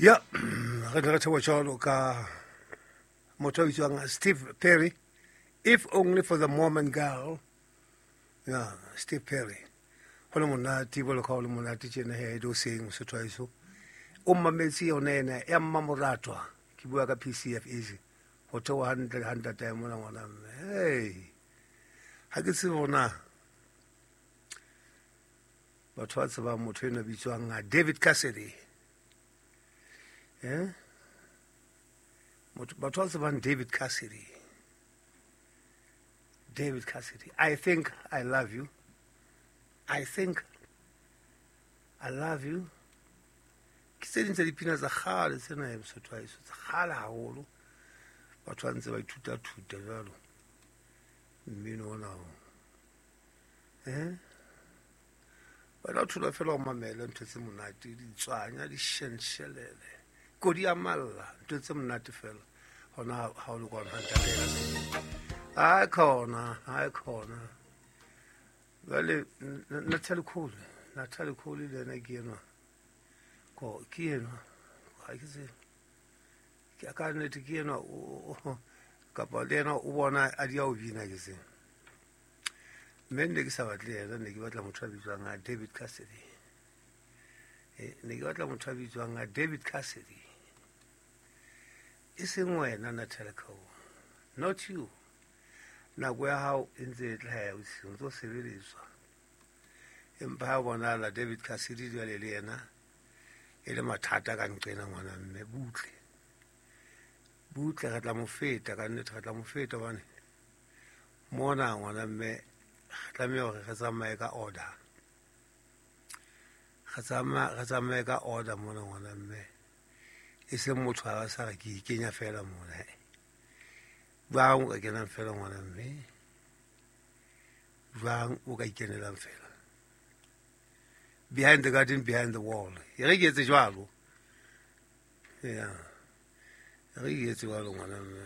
Ya, re ne re theoha jwalo ka motho a bitswang Steve Perry, If Only for the Moment Girl. Ya, Steve Perry. Ho le monate, jwalo ka ho le monate tjena he, do seng Mosotho wa heso. O mmametse yona ena ya mmamoratwa. Ke bua ka PCF Easy. Ho theoha hantle ha ntatae mona ngwana mme. Hey. Ha ke tsebe hore na batho ba tsebang motho enwa bitswang David Cassidy. Eh? Motho batho ba tsebang David Cassidy. David Cassidy. I think I love you. I think I love you. Ke tse ding tsa dipina tsa kgale tsena ya Mosotho wa heso, tsa kgale haholo. Batho ba ntse ba ithuta-thuta jwalo mmino ona o. Eh? Wena o thola fela o mamele ntho tse monate, ditswanya, di shenshelele, kodi ya malla, ntho tse monate fela. Hona ha o le kwana ha ntate ya se. Ai khona, ai khona. Jwale Natalie Cole, Natalie Cole le yena ke enwa. Ko ke enwa. Ha ke tsebe. Ke ka nnete ke enwa kapa le yena o bona a di ya o bina ke tsebe. Mme ne ke sa batle yena, ne ke batla motho a bitswang a David Cassidy. Ne ke batla motho a bitswang a David Cassidy. E seng wena Natalie Cole. Not you. Nako ya hao e ntse e tla ya o ntse o sebeletswa. Empa ha bonahala David Cassidy jwale le yena e le mathata ka nqena ngwana mme butle. Butle re tla mo feta ka nnete, re tla mo feta hobane mona ngwana mme re tlameha hore re tsamaye ka order. Re tsamaye ka order mona ngwana mme. E seng motho a sa re ke ikenya fela mona. Jwang o ka kenang fela ngwana mme? Jwang o ka ikenelang fela? Behind the garden, behind the wall. E re ke etse jwalo. Ya. E re ke etse jwalo ngwana mme.